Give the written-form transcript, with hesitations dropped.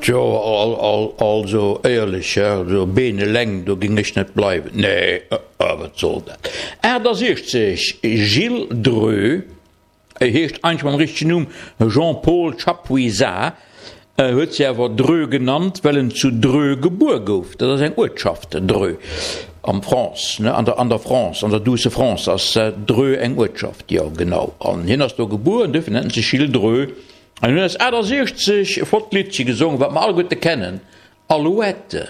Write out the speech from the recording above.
Tjo, also éierlech, also Been eleng, do ging ech net bleiwen. Nee, wat soll dat? 68, Gilles Dreux, e heescht eigentlech mam richtegen Numm Jean-Paul Chapuisat, huet sech awer Dreux genannt, well en zu Dreux gebuer gouf. Dat ass eng Uertschaft, Dreux, am France, ne, an der, an der France, an der douce France ass Dreux eng Uertschaft, jo genau. An hien ass do gebuer an duerfir nennt en sech Gilles Dreux. An hien huet 68 e flott Liddche gesongen, wat mer alleguerte kennen, Alouette.